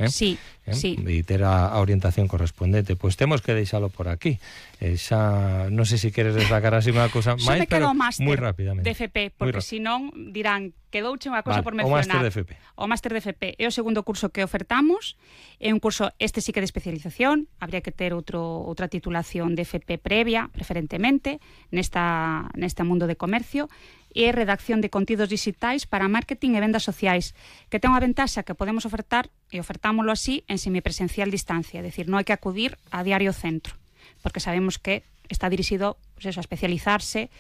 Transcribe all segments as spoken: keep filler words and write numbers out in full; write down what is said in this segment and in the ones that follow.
eh? Sí, eh? sí. E ter a, a orientación correspondente. Pois temos que deixalo por aquí. Eh, xa, non sei se queres destacar así unha cousa máis, pero moi rapidamente. De F P, porque senón dirán, quedouche unha cousa vale, por mencionar. O máster de F P. O máster de F P é o segundo curso que ofertamos, é un curso, este sí que de especialización, habría que ter outro, outra titulación de F P previa, preferentemente, nesta, neste mundo de comercio, e redacción de contidos digitais para marketing e vendas sociais, que ten unha ventaxa que podemos ofertar, e ofertámoslo así, en semipresencial distancia, é dicir, non hai que acudir a diario centro, porque sabemos que está dirixido pues eso, a especializarse,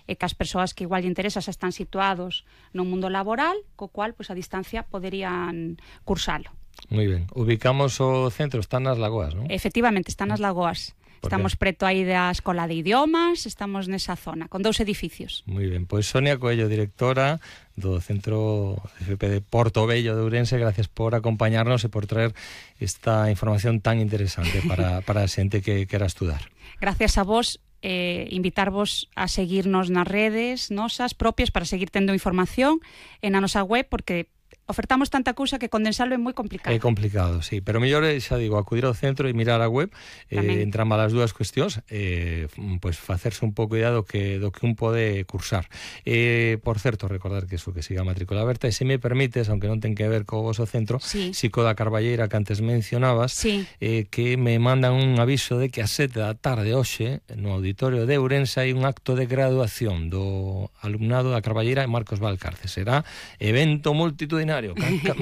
e que as persoas que igual lle interesa xa están situados no mundo laboral, co cual pues, a distancia poderían cursalo. Moi ben. Ubicamos o centro, está nas Lagoas, non? Efectivamente, está nas Lagoas. Estamos preto aí da Escola de Idiomas, estamos nesa zona, con dous edificios. Moi ben, pois Sonia Coello, directora do Centro F P de Portobello de Ourense, gracias por acompañarnos e por traer esta información tan interesante para, para a xente que quera estudar. Gracias a vos, eh, invitarvos a seguirnos nas redes nosas propias para seguir tendo información e na nosa web, porque ofertamos tanta cousa que condensalo é moi complicado. É complicado, sí, pero mellor é, xa digo, acudir ao centro e mirar a web, eh, entran malas dúas cuestións, eh, pois facerse un pouco idea do que, do que un pode cursar. Eh, por certo, recordar que iso que siga a matrícula aberta, e se me permites, aunque non ten que ver co voso centro, sí. Sico da Carballeira, que antes mencionabas, sí. eh, que me mandan un aviso de que a sete da tarde hoxe, no auditorio de Ourense, hai un acto de graduación do alumnado da Carballeira e Marcos Valcarce. Será evento multitudinario,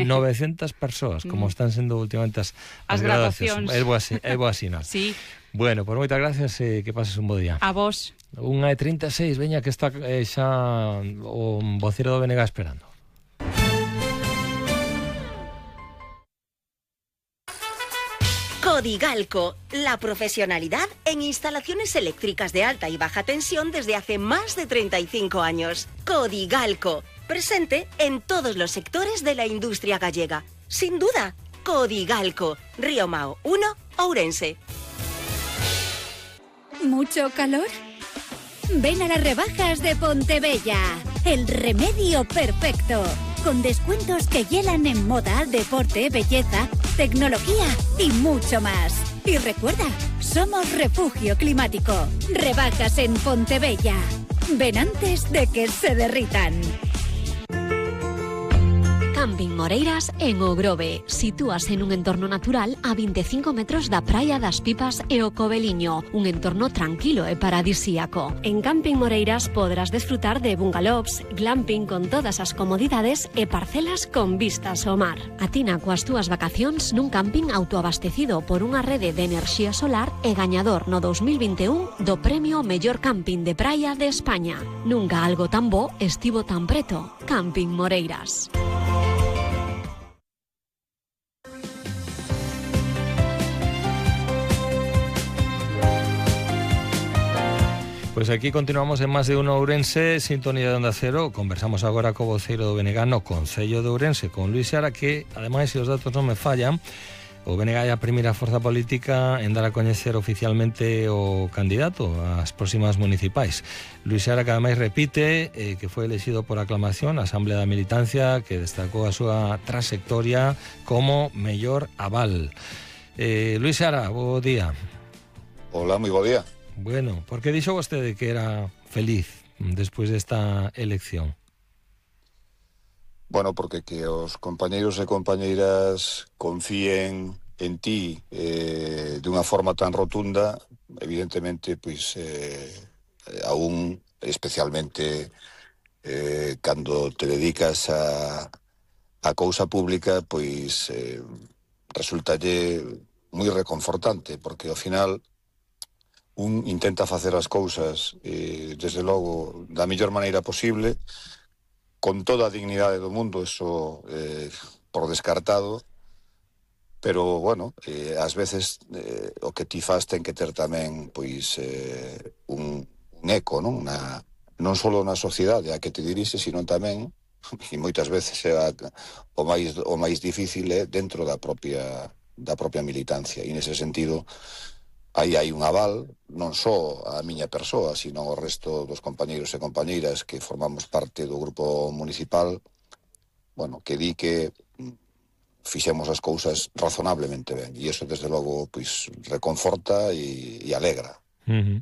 novecientas persoas, como están sendo últimamente as, as, as graduacións. É boa, é boa sinal. Sí. Bueno, por moitas gracias e que pases un bo día. A vos. Unha e trinta e seis, veña que está eh, xa o vocero do B N G esperando. Codigalco, la profesionalidad en instalaciones eléctricas de alta y baja tensión desde hace más de treinta y cinco años. Codigalco, presente en todos los sectores de la industria gallega. Sin duda, Codigalco, Río Mao uno, Ourense. ¿Mucho calor? Ven a las rebajas de Pontebella, el remedio perfecto. Con descuentos que hielan en moda, deporte, belleza, tecnología y mucho más. Y recuerda, somos refugio climático. Rebajas en Pontebella. Ven antes de que se derritan. Camping Moreiras en O Grove. Sitúase en un entorno natural a veinticinco metros da Praia das Pipas e o Coveliño, un entorno tranquilo e paradisíaco. En Camping Moreiras podrás desfrutar de bungalows, glamping con todas as comodidades e parcelas con vistas ao mar. Atina coas túas vacacións nun camping autoabastecido por unha rede de enerxía solar e gañador no dos mil vinte e un do premio Mellor Camping de Praia de España. Nunca algo tan bo estivo tan preto. Camping Moreiras. Pois aquí continuamos en Más de Uno Ourense, sintonía de Onda Cero. Conversamos agora co voceiro do B N G no Concello de Ourense, con Luís Seara, que, ademais, se os datos non me fallan, o B N G é a primeira forza política en dar a coñecer oficialmente o candidato ás próximas municipais. Luís Seara, que ademais repite eh, que foi elexido por aclamación na Asamblea da Militancia, que destacou a súa trayectoria como mellor aval. Eh, Luís Seara, bo día. Hola, moi bo día. Bueno, por que dixo vostede que era feliz despois desta elección? Bueno, porque que os compañeiros e compañeiras confíen en ti eh, de unha forma tan rotunda, evidentemente, pois, eh, aún especialmente eh, cando te dedicas a, a cousa pública, pois eh, resultalle moi reconfortante, porque ao final un intenta facer as cousas eh, desde logo da mellor maneira posible, con toda a dignidade do mundo, eso eh, por descartado, pero, bueno, eh, ás veces eh, o que ti faz ten que ter tamén, pois, eh, un, un eco, non? Na, non só na sociedade a que te dirixe, sino tamén, e moitas veces é a, o máis o máis difícil é dentro da propia da propia militancia, e nese sentido aí hai un aval, non só a miña persoa, sino o resto dos compañeiros e compañeiras que formamos parte do grupo municipal, bueno, que di que fixemos as cousas razonablemente ben, e iso desde logo pois reconforta e, e alegra. Uh-huh.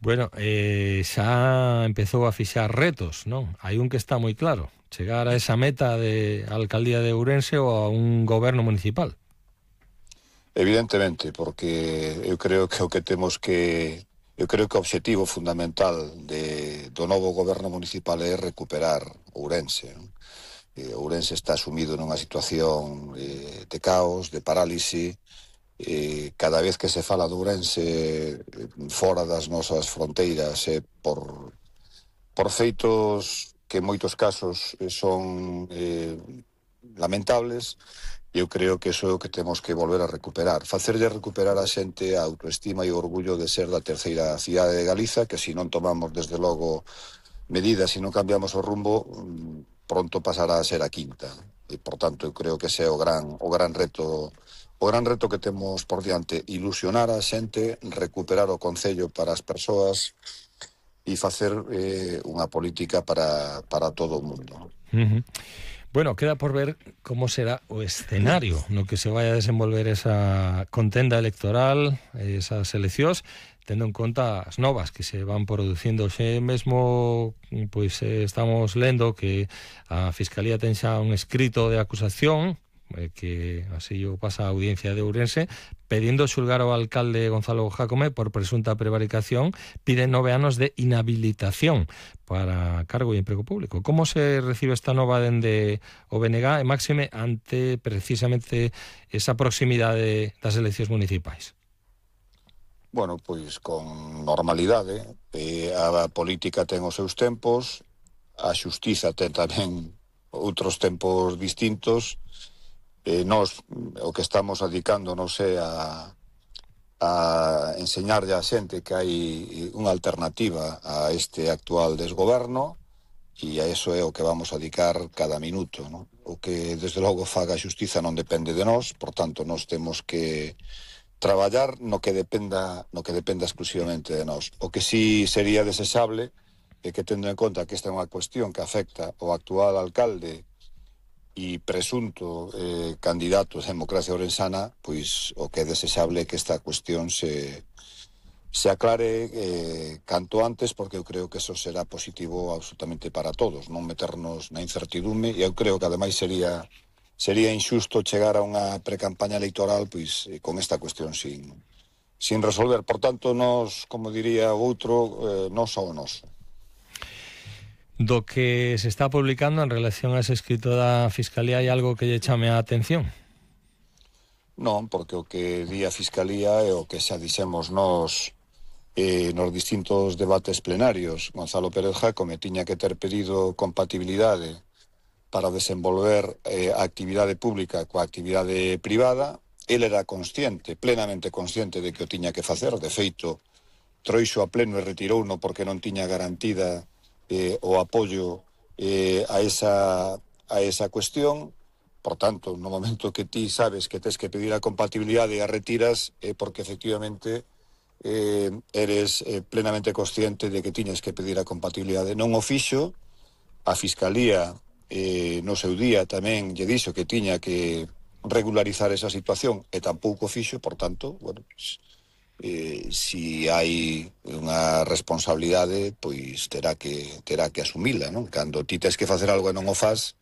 Bueno, eh, xa empezou a fixar retos, non? Hai un que está moi claro, chegar a esa meta de alcaldía de Ourense ou a un goberno municipal. Evidentemente, porque eu creo que o que temos que eu creo que o obxectivo fundamental de, do novo goberno municipal é recuperar Ourense, non? Eh, Ourense está sumido nunha situación eh, de caos, de parálise. Eh, cada vez que se fala de Ourense eh, fora das nosas fronteiras eh, por, por feitos que en moitos casos eh, son eh, lamentables, eu creo que iso é o que temos que volver a recuperar, facerlle recuperar a xente a autoestima e o orgullo de ser da terceira cidade de Galiza, que se non tomamos desde logo medidas e non cambiamos o rumbo, pronto pasará a ser a quinta. E, por tanto, eu creo que ese é o gran, o gran reto o gran reto que temos por diante, ilusionar a xente, recuperar o concello para as persoas e facer eh, unha política para, para todo o mundo. Uh-huh. Bueno, queda por ver como será o escenario no que se vai a desenvolver esa contenda electoral, esas eleccións, tendo en conta as novas que se van producindo. Xe mesmo pois eh, estamos lendo que a Fiscalía ten xa un escrito de acusación eh, que así o pasa a Audiencia de Ourense pedindo xulgar ao alcalde Gonzalo Jácome por presunta prevaricación. Pide nove anos de inhabilitación para cargo e emprego público. Como se recibe esta nova dende o B N G e máxime ante precisamente esa proximidade das eleccións municipais? Bueno, pois con normalidade, eh, a política ten os seus tempos, a xustiza ten tamén outros tempos distintos, eh, nós o que estamos dedicándonos é a, a enseñarlle a xente que hai unha alternativa a este actual desgoberno, e a eso é o que vamos a dedicar cada minuto, non? O que desde logo faga a xustiza non depende de nós, por tanto nós temos que traballar no que dependa no que dependa exclusivamente de nós. O que sí sería desexable é que, tendo en conta que esta é unha cuestión que afecta ao actual alcalde e presunto eh, candidato a democracia orensana, pois o que é desexable é que esta cuestión se, se aclare eh, canto antes, porque eu creo que eso será positivo absolutamente para todos, non meternos na incertidume, e eu creo que ademais sería sería injusto chegar a unha precampaña electoral pois con esta cuestión sin, sin resolver. Por tanto, nós, como diría o outro, eh, nós só o noso. Do que se está publicando en relación a ese escrito da Fiscalía, hai algo que lle chame a atención? Non, porque o que di a Fiscalía é o que xa dixemos nós eh, nos distintos debates plenarios. Gonzalo Pérez Jácome tiña que ter pedido compatibilidade para desenvolver eh, a actividade pública coa actividade privada. Ele era consciente, plenamente consciente de que o tiña que facer. De feito, troixo a pleno e retirouno porque non tiña garantida eh, o apoio eh, a, esa, a esa cuestión. Por tanto, no momento que ti sabes que tes que pedir a compatibilidade e a retiras, é eh, porque efectivamente eh, eres eh, plenamente consciente de que tiñas que pedir a compatibilidade. Non o fixo. A Fiscalía Eh, no seu día tamén lle dixo que tiña que regularizar esa situación e tampouco fixo, por tanto, bueno, pues, eh, si hai unha responsabilidade, pois terá que terá que asumila, non? Cando ti tes que facer algo e non o faz,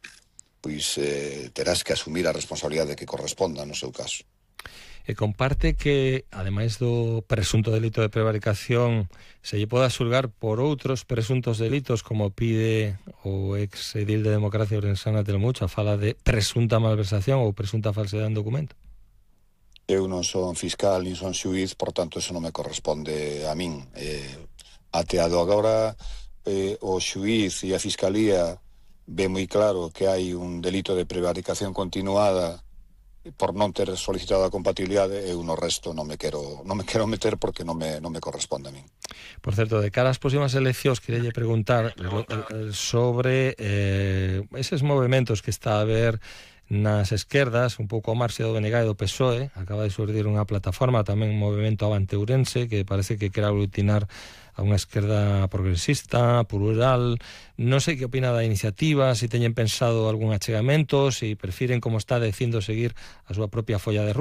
pois eh, terás que asumir a responsabilidade que corresponda no seu caso. E comparte que, ademais do presunto delito de prevaricación, se lle poda xulgar por outros presuntos delitos, como pide o ex edil de Democracia Orensana Telmucha, fala de presunta malversación ou presunta falsedade en documento? Eu non son fiscal nin son xuiz, por tanto, eso non me corresponde a min. Eh, ateado agora, eh, o xuiz e a Fiscalía ve moi claro que hai un delito de prevaricación continuada por non ter solicitado a compatibilidade, eu no resto non me quero non me quero meter porque non me, non me corresponde a min. Por certo, de cara ás próximas eleccións, quería preguntar sobre eh, eses movimentos que está a haber nas esquerdas, un pouco ao marxe do B N G e do P S O E. Acaba de surdir unha plataforma, tamén un movimento Avante Ourense, que parece que quere aglutinar a unha esquerda progresista, plural. Non sei que opina da iniciativa, se teñen pensado algún achegamento, se prefiren, como está dicindo, seguir a súa propia folla de ruta.